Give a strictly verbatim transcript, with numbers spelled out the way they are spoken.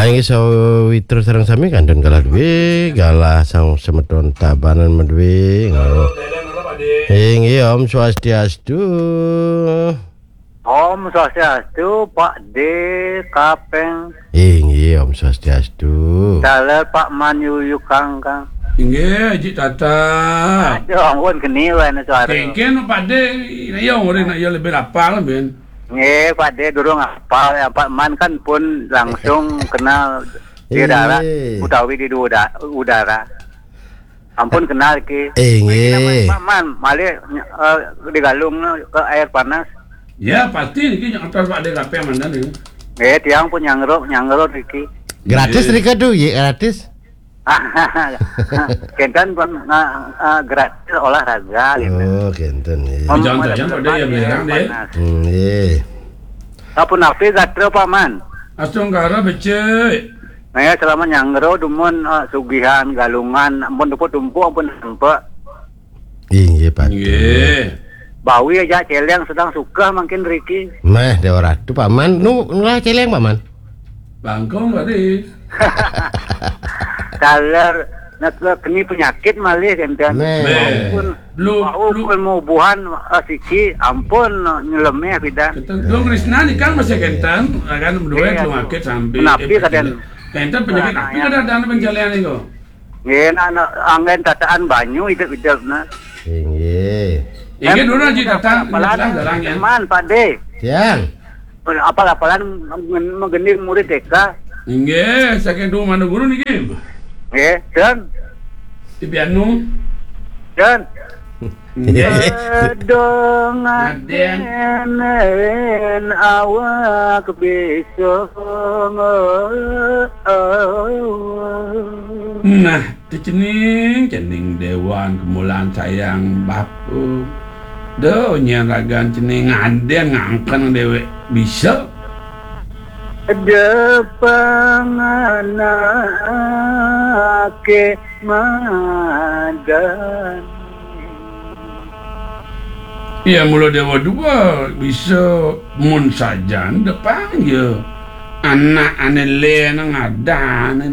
Inggih sawitra sareng sami kantun galah duwe, galah sang semeton Tabanan maduwe. Inggih, Om Swastiastu. Om Swastiastu, Pak D, Kapeng. Inggih, Om Swastiastu. Taler Pak Man yuyukang, Kang. Inggih, Haji Tata. Aduh, ampun, keni wae ne suara. Kengken Pak D, ya, orang nak ya lebih lapar, Ben. Nggih, Pak D durung apal ya, Pak Man kan pun langsung kenal di darat utawi di uda-, udara. Ampun kenal ki. Eh, nggih. Pak Man, malih, eh, digalung ke air panas. Ya, pasti niki nyantos Pak D K P mandan niki. Nggih, tiang pun nyangro, nyangro niki. Gratis nggih. Nika tuh, ya gratis. Kenten pun, eh, eh, gratis olahraga gitu. Oh, kenten, ya. Jangan-jangan Pak D ya belerang deh. Panas. Hmm, iya. Sapunapi gatra, Pak Man? Astungkara becik. Nah, ya, selama nyangro dumun, eh, sugihan, galungan, ampun tumpuk-tumpuk, ampun sampe. Inggih, Pak. Inggih. Bawi aja celeng sedang suka makin riki. Meh, Dewa Ratu, Pak Man. Nu, nulah celeng, Pak Man. Bangkong tadi. Taler, nak keni penyakit malih kenten. Meh. Meh. Pun, lu, bau lu. Pun mau buhan, eh, siki, ampun, nyelemeh pidan. Kenten, lu Krisna ni kan masih kenten, kan berdua. Iya. Lu ngakit sampai. Menapi eh, kaden. Kenten penyakit apa ada dalam pencalian itu? Nggih, nah, nah, anggen tataan banyu hidup-hidup, nah. Inggih. Inggih, dulu Haji Tata, apalan, dalang, ya. Man, Pak D. Tiang. Apal-apalan menggending murid T K. Inggih, saking dulu mana guru niki? Nggih, dan. Di Pianu. Dan. Nggih. Aduh, ngadenen awak bisa. Nah, cening, cening dewan kemulan sayang bapa. Duh, nyen ragan cening ngaden ngangken dewek bisa. Depanganake madan. Ya, mula dewa dua bisa mun sajan depan ya. Anak ane le nang adan